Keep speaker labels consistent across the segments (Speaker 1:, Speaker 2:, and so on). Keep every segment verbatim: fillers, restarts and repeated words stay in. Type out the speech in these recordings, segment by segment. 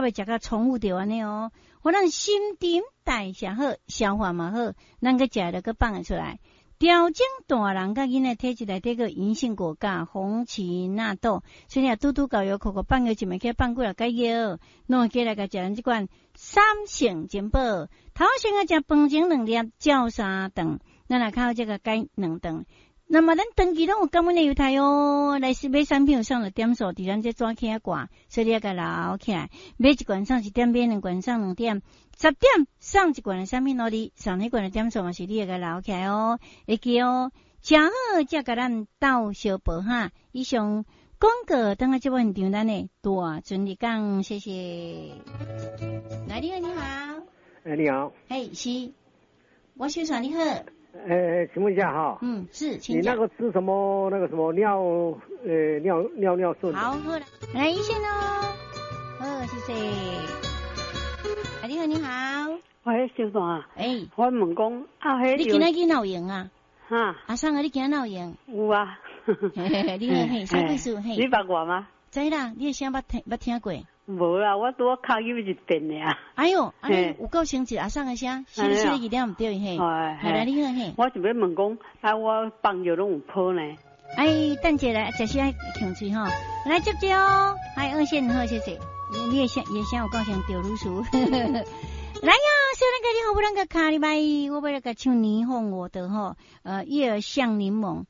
Speaker 1: 袂食甲重複著按呢哦。予咱新陳代謝好，消化嘛好，咱閣食了閣放會出來。調整大人佮囡仔體質內底個銀杏果鉀、紅芪納豆，所以你拄拄夠藥，扣扣放藥一暝起放幾若解藥，攏會起來共食咱這款三聖珍寶。頭先啊，食飯前兩粒，照三頓，咱若較好這個改兩頓。那麼咱長期攏有感恩的猶太哦，來買產品有送的點數，佇咱這紙起掛，所以你愛共留起來。買一罐送一點，買兩罐送兩點，十點送一罐的產品落你，送彼罐的點數嘛是你會共留起來哦，會記哦。誠好，才共咱鬥相報哈。以上廣告，等下節目現場咱的大尊日講，謝謝。來，你好，你好。
Speaker 2: 哎，你好。
Speaker 1: 嘿，是，我小帥，你好。
Speaker 2: 呃，請問一下哈，
Speaker 1: 嗯，是，請
Speaker 2: 你那個吃什麼？那個什麼尿，呃，尿尿尿順？
Speaker 1: 好，好啦，來一線哦，好，謝謝。你好，你好。
Speaker 3: 喂，小段啊。
Speaker 1: 欸，
Speaker 3: 我問講啊，彼
Speaker 1: 你今仔日哪有閒啊？
Speaker 3: 哈。
Speaker 1: 阿桑啊，你今仔哪有閒？
Speaker 3: 有啊。
Speaker 1: 你好，嘿，啥意思？嘿。
Speaker 3: 你捌我嗎？
Speaker 1: 知啦，你的聲捌聽捌聽過？
Speaker 3: 無啦，我拄仔敲入一遍爾。
Speaker 1: 哎喲，按呢有夠生氣阿桑的聲，是是一點毋對嘿。係啦，你好嘿。
Speaker 3: 我想欲問講，啊，我放藥攏有泡呢。
Speaker 1: 哎，等一下，食時愛強喙吼，來接接哦。來二線好，謝謝。你的聲，你的聲有夠像趙女士。來呀，小人個你好，不啷個卡哩拜，我欲來共唱霓虹我的吼，呃，葉像檸檬，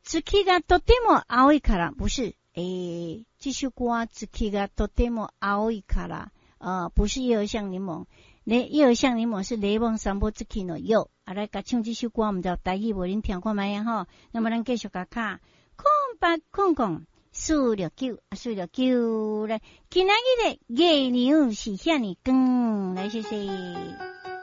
Speaker 1: 月がとても青いから，不是，欸，這首歌月がとても青いから，呃，不是葉像檸檬，雷葉像檸檬是雷夢散步月の夜，啊，來共唱這首歌，毋知台語無恁聽看覓啊吼，那麼咱繼續共敲，空八空空四六九四六九來，今仔日的月娘是遐爾光，來謝謝。